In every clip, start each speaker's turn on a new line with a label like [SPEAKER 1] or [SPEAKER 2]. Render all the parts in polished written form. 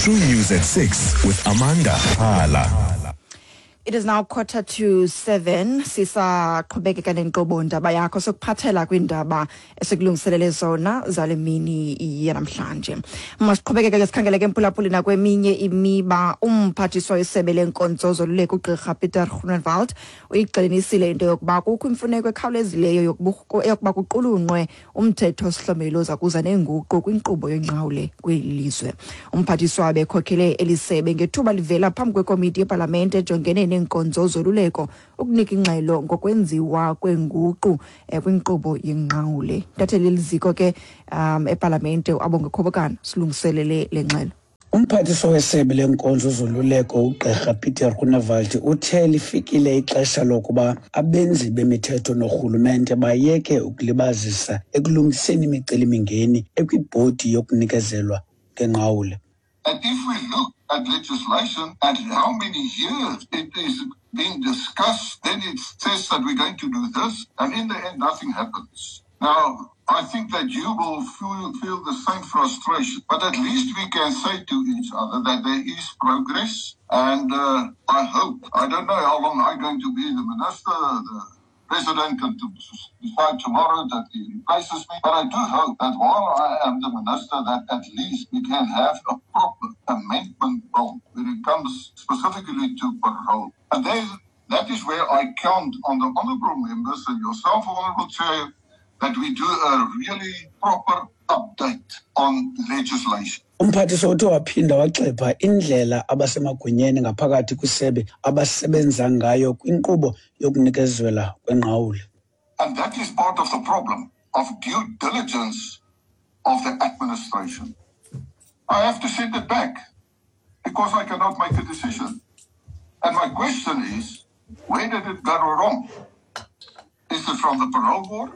[SPEAKER 1] True News at 6 with Amanda Hala.
[SPEAKER 2] It is now 6:45. Sisaqhubekeka nenkqubo ndaba yakho, sokuphathela kwiindaba esikulungiselele zona zale mini yanamhlanje. Masiqhubekeke ke, sikhangele ke, mphulaphuli, nakweminye imiba. Umphathiswa wesebe lenkonzo zoluleko, ugqirha Peter Groenewald, uyigxininisile into yokuba kukho imfuneko ekhawulezileyo yokuba kuqulunqwe umthetho sihlomelo oza kuza neenguqu kwinkqubo yengqawule kweli lizwe. Umphathiswa bekhokhele eli sebe ngethuba livela phambi kwekomiti yepalamente ejongene neenkonzo zoluleko ukunika ingxelo ngokwenziwa kwenguqu kwinkqubo yengqawule. Intatheli yeliziko ke epalamente, uAbonge Khobokana, silungiselele le ngxelo.
[SPEAKER 3] Umphathiswa wesebe lenkonzo zoluleko, ugqirha Peter Groenewald, uthe lifikile ixesha lokuba abenzi bemithetho norhulumente bayeke ukulibazisa ekulungiseni imicelimingeni ekwibhodi yokunikezelwa ngenqawule.
[SPEAKER 4] And if we look at legislation and how many years it is being discussed, then it says that we're going to do this, and in the end, nothing happens. Now, I think that you will feel the same frustration, but at least we can say to each other that there is progress, and I hope, I don't know how long I'm going to be the minister, the president can decide tomorrow that he replaces me, but I do hope that while I am the minister, that at least we can have a proper amendment bill when it comes specifically to parole. And then that is where I count on the honourable members and yourself, Honourable Chair, that we do a really proper update on legislation.
[SPEAKER 3] Umphathiswa uthe waphinda wagxeka indlela abasemagunyeni ngaphakathi kwisebe abasebenza ngayo kwinkqubo yokunikezelwa kwenqawule.
[SPEAKER 4] And that is part of the problem of due diligence of the administration. I have to send it back because I cannot make a decision. And my question is, where did it go wrong? Is it from the parole board?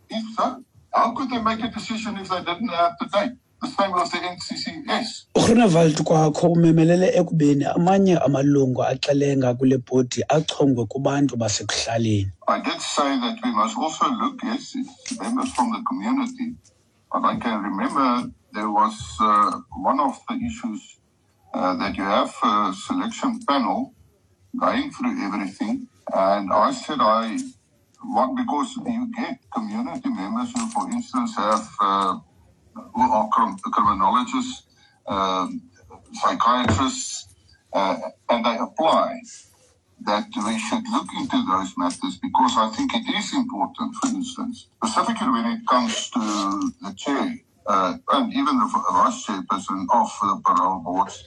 [SPEAKER 4] If so, how could they make a decision if they didn't have the date? The same with the NCCS.
[SPEAKER 3] UGroenewald kwakho umemelele ekubeni amanye amalungu axelenga kule bhodi achongwe kubantu basekuhlaleni.
[SPEAKER 4] I did say that we must also look, yes, it's members from the community, but I can remember there was one of the issues that you have a selection panel going through everything, and I said I want, because you get community members who, for instance, have who are criminologists, psychiatrists, and they apply, that we should look into those matters, because I think it is important, for instance, specifically when it comes to the chair and even the vice chairperson of the parole boards.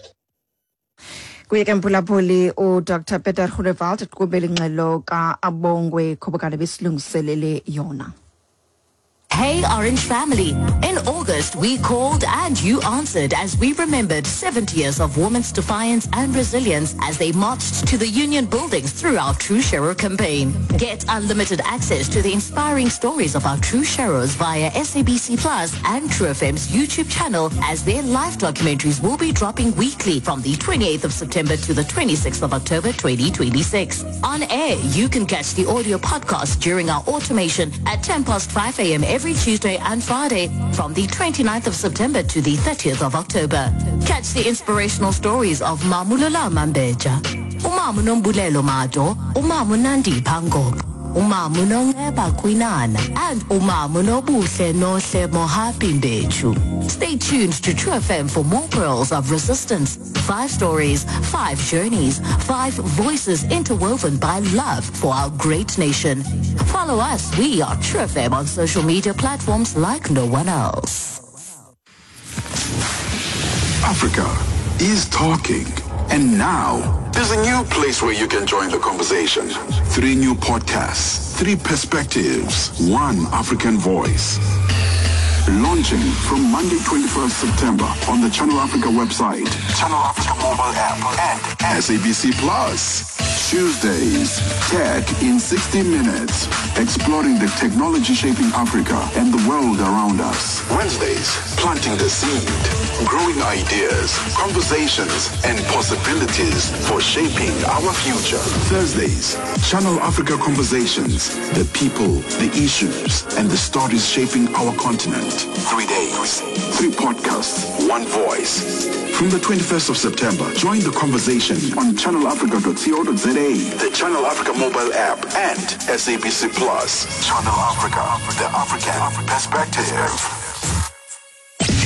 [SPEAKER 2] Kuye ke, mphulaphuli, uDr Peter Groenewald eqhubela ingxelo ka-Abongwe Khobokane besilungiselele yona.
[SPEAKER 5] Hey, Orange family. In August, we called and you answered as we remembered 70 years of women's defiance and resilience as they marched to the union buildings through our True Sharer campaign. Get unlimited access to the inspiring stories of our True Sharers via SABC Plus and True FM's YouTube channel, as their live documentaries will be dropping weekly from the 28th of September to the 26th of October 2026. On air, you can catch the audio podcast during our automation at 10 past 5 a.m. every Tuesday and Friday from the 29th of September to the 30th of October. Catch the inspirational stories of Mamulula Mambeja, Umamu Nombulelo Mado, Umamu Nandi Pango, Umamu Nongeba Kwinana, and Umamu Nobuhle Nohle Mohapi Mbechu. Stay tuned to True FM for more pearls of resistance. Five stories, five journeys, five voices interwoven by love for our great nation. Follow us. We are True FM on social media platforms like no one else.
[SPEAKER 6] Africa is talking. And now, there's a new place where you can join the conversation. Three new podcasts, three perspectives, one African voice. Launching from Monday, 21st September on the Channel Africa website, Channel Africa mobile app, and SABC Plus. Tuesdays, Tech in 60 Minutes, exploring the technology shaping Africa and the world around us. Wednesdays, Planting the Seed. Growing ideas, conversations, and possibilities for shaping our future. Thursdays, Channel Africa Conversations. The people, the issues, and the stories shaping our continent. 3 days, three podcasts, one voice. From the 21st of September, join the conversation on channelafrica.co.za, the Channel Africa mobile app, and SABC Plus. Channel Africa, the African perspective.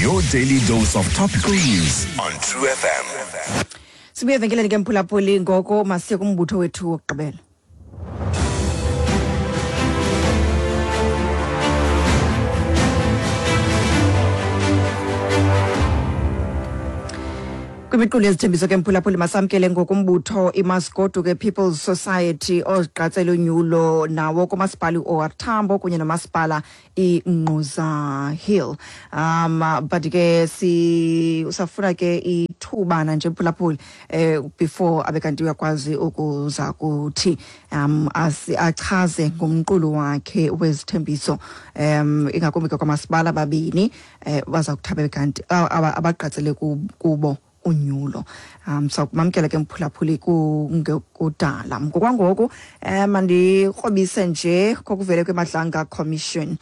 [SPEAKER 1] Your daily dose of topical news on True FM.
[SPEAKER 2] Sibuye evenkileni ke, mphulaphuli. Ngoko masiye kumbutho wethu wokugqibela. Kwimiqulu yezithembiso ke, mphulaphuli, masamkele ngokumbutho iMasigoduke People's Society ozigqatsela unyulo nawo kumasipala i-OR Tambo kunye nomasipala iNgquza Hill. But ke si usafuna ke ithubana nje, mphulaphuli, before abe kanti uyakwazi ukuza kuthi achaze ngomqulu wakhe wezithembiso, ingakumbi ke kwamasipala babini baza kuthabe kanti abagqatsele kubo unyulo. Sakumamkela ke, mphulaphuli, kungekudala. Ngokwangoku mandikrobise nje kokuvele kweMadlanga Commission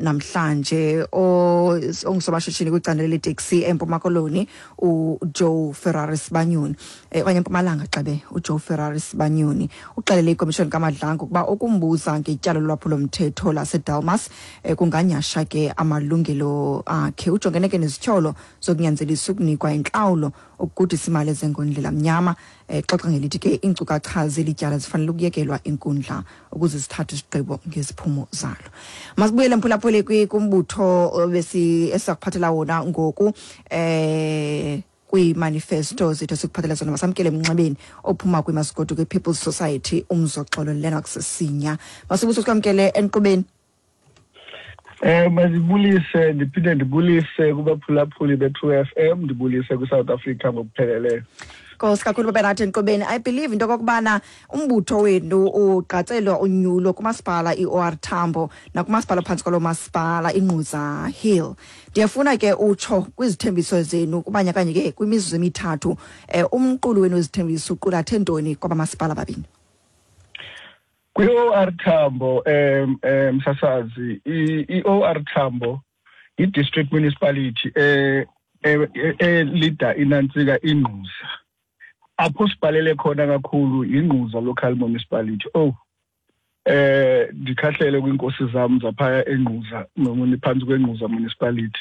[SPEAKER 2] namhlanje. Ongusomashishini kwicandelo leteksi eMpuma Koloni, uJoe Ferrari Sibanyoni, okanye eMpumalanga xabe, uJoe Ferrari Sibanyoni uxelele ikomishoni kaMadlanga ukuba ukumbuza ngetyala lolwaphulomthetho laseDelmas kunganyasha ke amalungelo akhe. Ujongene ke nezityholo zokunyanzelisa ukunikwa intlawulo, ukugudisa imali ezengondlela mnyama. Xoxa ngelithi ke iinkcukacha zeli tyala zifanele ukuyekelwa inkundla ukuze zithathe isigqibo ngeziphumo zalo. Masibuyele, mphulaphuli, kumbutho besi esakuphathela wona ngoku kwiimanifesto zethu esikuphathela zona. Masamkele emnxebeni ophuma kwiMasigoduke People's Society, uMzoxolo Lennox Sinya. Masibuso, sikwamkele enkqubeni.
[SPEAKER 7] Mazibulise, ndiphinde ndibulise kubaphulaphuli be-True FM, ndibulise kwiSouth Africa ngokupheleleyo.
[SPEAKER 2] Nkosi kakhulu babe nathi enkqubeni. I believe into okokubana umbutho wenu ugqatselwa unyulo kumasipala i-OR Tambo nakumasipala phantsi kwalo masipala iNgquza Hill. Ndiyafuna ke utsho kwizithembiso zenu kubanye kanye ke kwimizuzu emithathu, umqulu wenu wezithembiso uqulathe ntoni kwabamasipala babini?
[SPEAKER 7] Kwi-OR Tambo, msasazi, i-OR Tambo i-district municipality elida inantsika iNgquza. Apho sibhalele khona kakhulu iNgquza local municipality. Oh, ndikhahlele kwinkosi zam zaphaya eNgquza, phantsi kweNgquza municipality.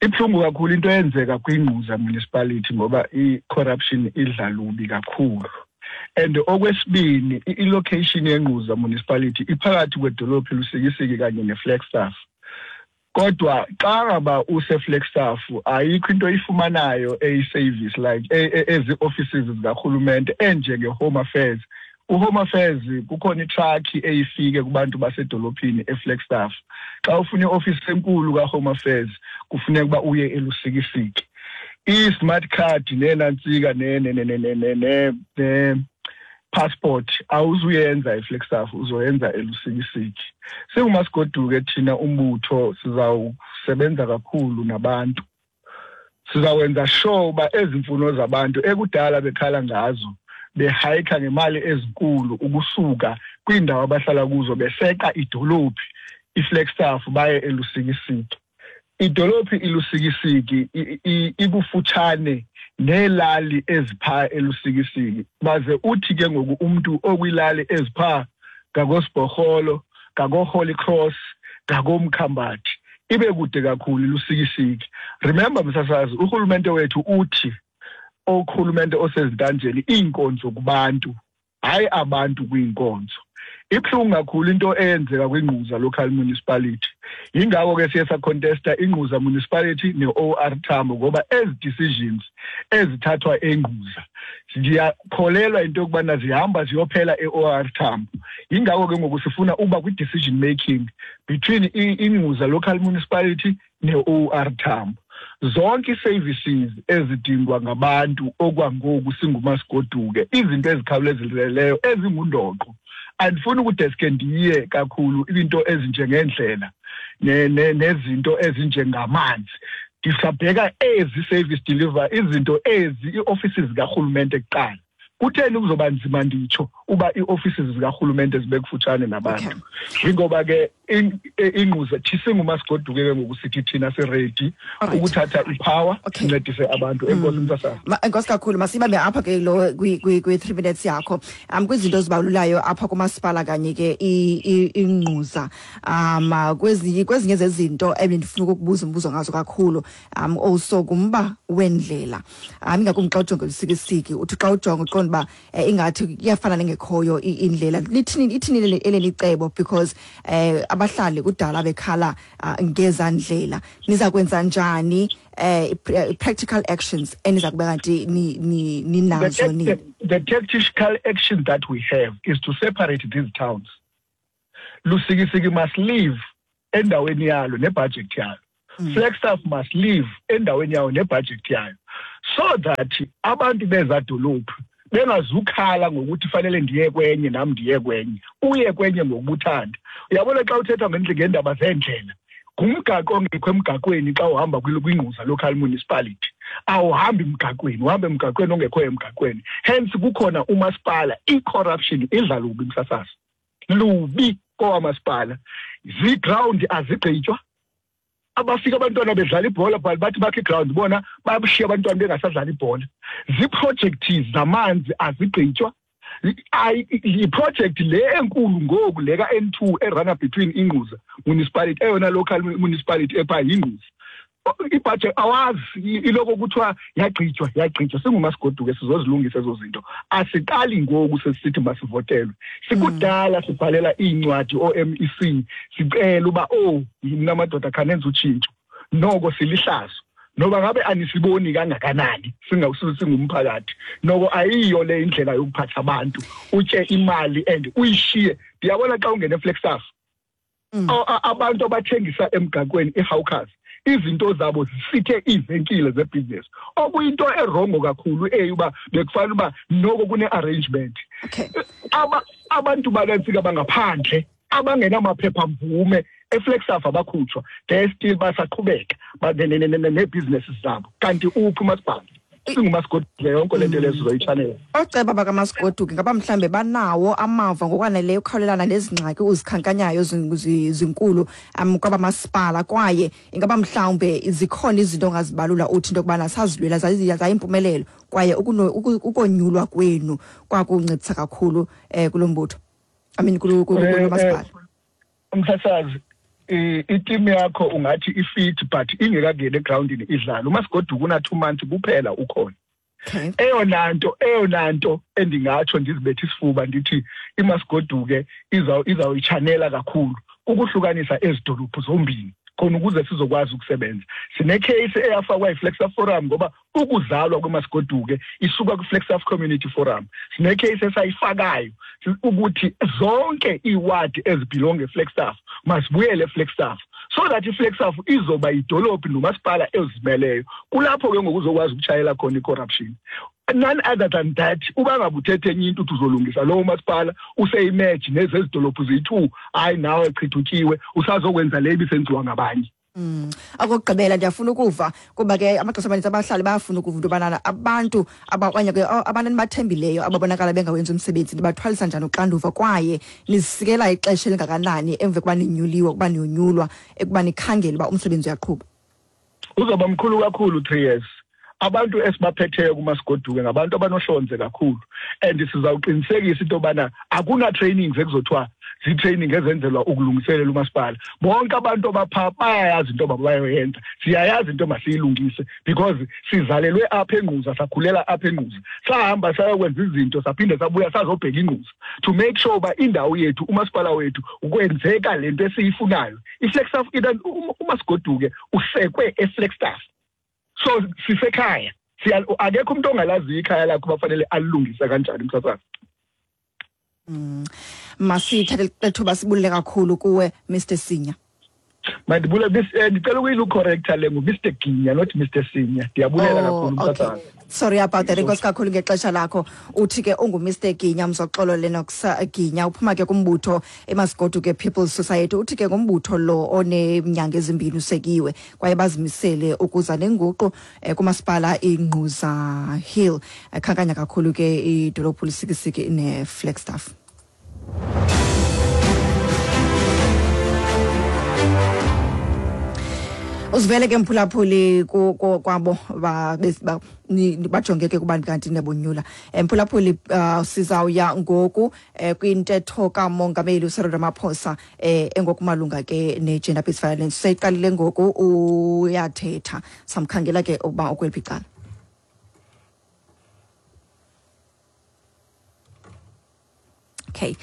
[SPEAKER 7] Ibuhlungu kakhulu into eyenzeka kwiNgquza municipality ngoba i-corruption idla lubi kakhulu. And okwesibini, i-location yeNgquza municipality iphakathi kwedolophu Lusikisiki kanye neFlagstaff. Kodwa xa ngaba useFlagstaff ayikho into oyifumanayo eyi-service like ezi offices zikarhulumente enjenge-Home Affairs. UHome Affairs kukhona itruck eyifike kubantu basedolophini eFlagstaff. Xa ufuna iofisi enkulu kaHome Affairs kufuneka uba uye eLusikisiki. I-smart card nenantsika ne passport awuzuyenza eFlagstaff, uzoyenza eLusikisiki. SinguMasigoduke thina umbutho sizawusebenza kakhulu nabantu. Sizawenza sure uba ezi mfuno zabantu ekudala bekhala ngazo, behayikha ngemali ezinkulu ukusuka kwiindawo abahlala kuzo, beseqa idolophi iFlagstaff baye eLusikisiki. Idolophi iLusikisiki ikufutshane neelali eziphaa eLusikisiki. Baze uthi ke ngoku umntu okwilali eziphaa ngakoSibhorholo, ngakoHoly Cross, ngakoMkhambathi, ibe kude kakhulu iLusikisiki. Remember, msasazi, urhulumente wethu uthi urhulumente osezintanjeni iinkonzo kubantu, hayi abantu kwiinkonzo. Ibuhlungu kakhulu into eyenzeka kwiNgquza local municipality. Yingako ke siye sacontesta iNgquza municipality ne-OR Tambo, ngoba ezi decisions ezithathwa eNgquza ndiyakholelwa into yokubana zihamba ziyophela e-OR Tambo. Yingako ke ngoku sifuna uba kwi-decision making between iNgquza local municipality ne-OR Tambo. Zonke ii-services ezidingwa ngabantu okwangoku singuMasigoduke, izinto ezikhawulezileyo ezingundoqo, andifuni ukudeske ndiye kakhulu, into ezinjengendlela nezinto ezinjengamanzi. Ndisabheka ezi service deliver izinto ezi ii-offices zikarhulumente kuqala. Kutheni kuzoba nzima nditsho uba ii-offices zikarhulumente zibe kufutshane nabantu? Yingoba ke iNgquza thisingumasigoduke ke ngoku sithi thina siredi ukuthatha ipower, sincedise abantu. Enkosi, msasazi.
[SPEAKER 2] Enkosi kakhulu. Masibambe apha ke lo kwi-3 minutes yakho. Kwizinto ezibalulayo apha kumasipala kanye ke iNgquza, kwezinye zezinto ebendifuna ukukubuza umbuzo ngazo kakhulu, also ngumba wendlela, ingakumbi xa ujonge Lusikisiki, uthi xa ujonga uqonda uba ingathi kuyafana nengekhoyo indlela. Lithini, ithini eleli cebo? Because abahlali kudala bekhala ngezaa ndlela. Niza kwenza njani, practical actions eniza kube kanti ninazo nini?
[SPEAKER 7] The tactical action that we have is to separate these towns. Lusikisiki must live endaweni yalo nebudget yalo. Flagstaff must live endaweni yawo nebudget yayo, so that abantu beza dolophu bengazukhala ngokuthi fanele ndiye kwenye, nam ndiye kwenye, uye kwenye ngokubuthanda. Uyabona, xa uthetha ngeendaba zeendlela, ngumgaqo ongekho emgaqweni. Xa uhamba kwiNgquza Local Municipality, awuhambi emgaqweni, uhambe emgaqweni ongekhoyo emgaqweni. Hence kukhona umasipala, i-corruption idla lubi, msasazi, lubi kowamasipala. Ziground azigqitywa, abafika abantwana bedlala ibhola, but bathi bakhe iground, bona babushiya abantwana bengasadlala ibhola. Ziiprojekthi zamanzi azigqitywa. Yiprojekthi le enkulu ngoku, le ka-N2 eruna between iNgquza Municipality, eyona local municipality ephaa yiNgquza. Ibhajethi awazi, iloko kuthiwa yagqitywa, yagqitywa. Singumasigoduke sizozilungisa ezo zinto. Asiqali ngoku sesisithi masivotelwe, sikudala sibhalela iincwadi oo-MEC, sicela uba, oh, yimna madoda, khanenza utshintsho. Noko silihlazo, noba ngabe anisiboni kangakanani singumphakathi, noko ayiyo le indlela yokuphatha abantu, utye imali and uyishiye. Ndiyabona xa ungena eFlagstaff, abantu abathengisa emgaqweni, ii-hawkers, izinto zabo zisithe iivenkile zebhizinesi, okuyinto erongo kakhulu eyi uba bekufanele uba noko kune-arrangement. Abantu bakantsika bangaphandle abangenamaphepha mvume eFlagstaff abakhutshwa, they still basaqhubeka neebhizinesi zabo. Kanti uphi umasipala? Singumasigoduke yonke le nto leyo sizoyitshanela.
[SPEAKER 2] Ooceba bakamasigoduke ngaba mhlawumbe banawo amava ngokwaneleyo ukukhawulelana nezi ngxaki uzikhankanyayo zinkulu kwabamasipala? Kwaye ingaba mhlawumbe zikhona izinto ongazibalula uthi into yokubana sazilwela zayimpumelelo, kwaye ukonyulwa kwenu kwakuncedisa kakhulu kulo mbutho, I mean kulo masipala?
[SPEAKER 7] Umsasazi, iteam yakho ungathi ifit but ingekangeni egrawundini idlala. Umasigoduka una-2 months kuphela ukhona. Eyona nto endingatsho ndizibethe isifuba ndithi imasigoduke izawuyitshanela kakhulu kukuhlukanisa ezi dolophu zombini, khona ukuze sizokwazi ukusebenza. Sinekheyisi eyafakwa yiFlagstaff Forum, ngoba ukuzalwa kwemasigoduke isuka kwiFlagstaff Community Forum. Sinekheyisi esayifakayo ukuthi zonke iiwadi ezibelonge eFlagstaff mazibuyele eFlagstaff, so that iFlagstaff izoba yidolophu nomasipala ezimeleyo. Kulapho ke ngoku uzokwazi ukutshayela khona i-corruption. None other than that, uba ngabe uthethe enye into, uthi uzolungisa lowo masipala useyimeji nezezi dolophu ziyi-two, hayi, nawe chithutyiwe, usazokwenza le ibisenziwa ngabanye.
[SPEAKER 2] Okokugqibela, ndiyafuna ukuva, kuba ke amaxesha amaninzi abahlali bayafuna ukuva into yobana abantu okanye ke abantu enibathembileyo ababonakala bengawenzi umsebenzi nibathwalisa njani uxanduva, kwaye nizisikela ixesha elingakanani emva kokuba ninyuliwe, ukuba niyonyulwa, ekuba nikhangele uba umsebenzi uyaqhuba?
[SPEAKER 7] Uzawuba mkhulu kakhulu 3 years. Abantu esibaphetheyo kumasigoduke ngabantu abanohlonze kakhulu, and sizawuqinisekisa into yobana akuna-trainings ekuzothiwa zii-training ezenzelwa ukulungiselela umasipala. Bonke abantu abaphaa bayayazi into yoba bayoyenza, siyayazi into masiyilungise, because sizalelwe apha eNgquza, sakhulela apha eNgquza, sahamba sayokwenza izinto, saphinde sabuya sazobheka iNgquza to make sure uba indawo yethu, umasipala wethu, kwenzeka le nto esiyifunayo. IFlagstaff, umasigoduke usekwe eFlagstaff, so sisekhaya. Akekho umuntu ongalaziyo ikhaya lakho bafanele alilungise kanjani, msasazi.
[SPEAKER 2] Masithathe lethuba sibulele kakhulu kuwe, Mr Sinya.
[SPEAKER 7] Mandibule, ndicela ukuyilucorrecta le, ngu-Mr Ginya, not Mr Sinya. Ndiyabulela kakhulu, msasazi.
[SPEAKER 2] Okay. Sorry about that. Enkosi kakhulu ngexesha lakho. Uthi ke ungu-Mr Ginya, Mzoxolo Lennox Ginya, uphuma ke kumbutho eMasigoduke People's Society. Uthi ke ngumbutho lo oneminyanga ezimbini usekiwe, kwaye bazimisele ukuza nenguqu kumasipala iNgquza Hill. Khankanya kakhulu ke idolophu Lusikisiki neFlagstaff. Uzivele ke, mphulaphuli, kwabo bajonge ke kubantu kanti nebonyula. Mphulaphuli, sizawuya ngoku kwintetho kamongameli uCyril Ramaphosa engokumalunga ke ne-gender based violence. Seyiqalile ngoku, uyathetha. Samkhangela ke ukuba ukweliphi icala. Okay.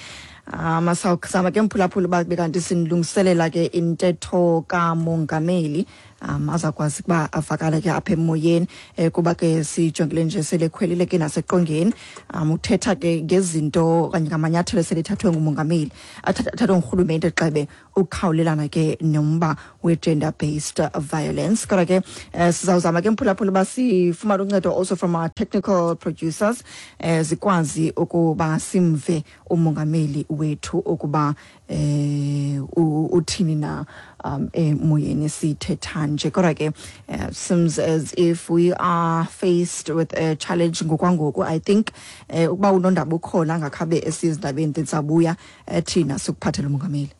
[SPEAKER 2] Sawuzama ke, mphulaphula, uba bekanti sinilungiselela ke intetho kamongameli azakwazi ukuba avakale ke apha emoyeni, kuba ke sijongile nje selekhwelile ke naseqongeni. Uthetha ke ngezinto okanye ngamanyathelo eselethathwe ngumongameli, athathwe ngurhulumente xebe ukukhawulelana ke nomba we-gender based violence. Kodwa ke sizawuzama ke, mphulaphula, uba sifumane uncedo also from our technical producers, zikwazi ukuba simve umongameli wethu ukuba uthini na emoyeni sithetha nje. Kodwa ke seems as if we are faced with a challenge ngokwangoku. I think ukuba unondaba ukhona angakhabe esizindabeni, then sabuya thina sikuphathela umongameli.